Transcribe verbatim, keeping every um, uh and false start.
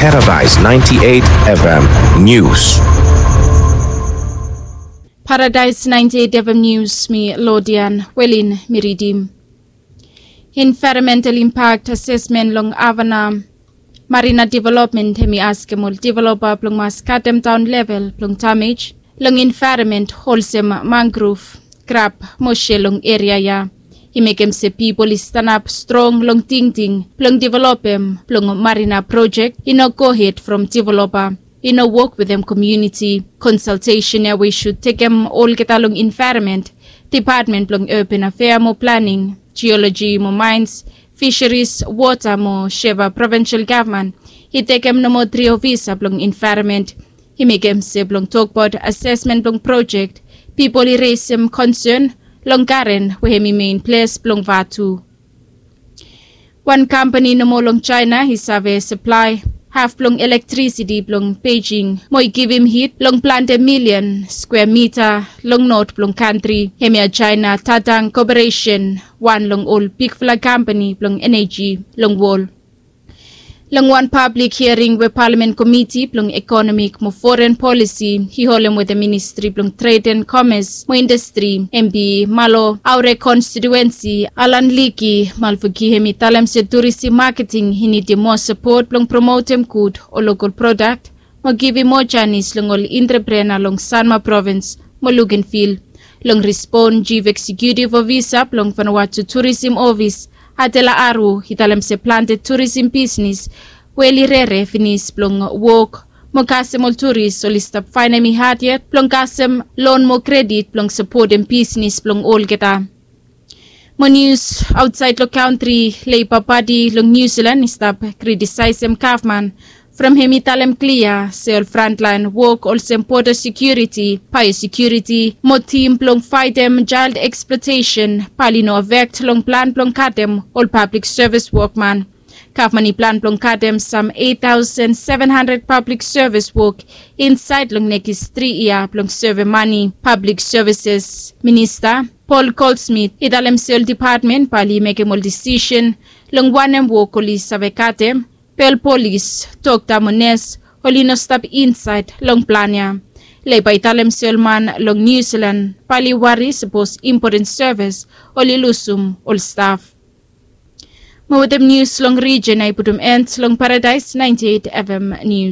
Paradise ninety-eight F M News. Paradise ninety-eight F M News, mi Lodian Welin mi ridim. Environmental impact assessment long Havana Marina Development hemi askem ol developa blong mas katem daon level blong damej long environment olsem mangrove, krab mo sel long eria ya. I mekem se pipol i stanap strong long tingting blong developem blong Marina project i no gohed from developa, i no wok wetem komuniti. Konsaltesen ya we i sud tekem olgeta long envaeronmen, depatmen blong urban afea mo planing, jioloji mo maens, fisheris, wota mo Sheva provinsel gavman i tekem nomo tri ofisa blong envaeronmen. I mekem se blong tokbaot asesmen blong projek, pipol i resem konsen long garen we hem i mein ples blong vatu. Wan kampani nomo long Jaena i save saplae haf blong elektrisiti blong Beijing mo i givim hit long plante milian skwea mita long not blong kantri. Hemia Jaena Tadang Koperesen, wan long ol bigfala kampani blong eneji long wol. Long wan pablik hiaring we palamen komiti blong ekonomik mo foren polisi i holem wetem ministri blong tred en komes mo indastri, M P Malo Aure konstituensi, Alan Liki Malfuki, hem i talem se turisim maketing i nidim moa sapot blong promotem gud ol lokol prodak mo givim moa janis long ol entreprena long Sanma provins mo Luganville. Long rispon, jif eksekutiv ofisa blong Vanuatu Turisim Ofis, Adela Aru, i talem se plante turisim bisnis we oli rere finis blong wok mo kasem ol turis oli stap faenem i had yet blong kasem lon mo kredit blong sapotem bisnis blong olgeta. Mo nius aotsaed long kantri, Leiba Pati long Niu Silan i stap kritisaesem gavman from hem i talem klia se ol frantlaen wok olsem boda sekiuriti, baeosekiuriti mo tim blong faetem jael eksplotesen bae oli no afekt long plan blong katem ol pablik sevis wokman. Gavman i plan blong katem sam eit taosen seven handred pablik sevis wok insaed long nekis tri yia blong sevem mane. Pablik sevises minista Paul Goldsmith i talem se ol depatmen bae oli mekem ol disisen long wanem wok oli save katem, be ol polis, dokta mo nes oli no stap insaed long plan ya. Leiba i talem se ol man long Niu Silan bae oli wari sapos impoten sevis oli lusum ol staf. Mo wetem nius long rijen ya i putum en long Paradaes naenti eit F M Nius.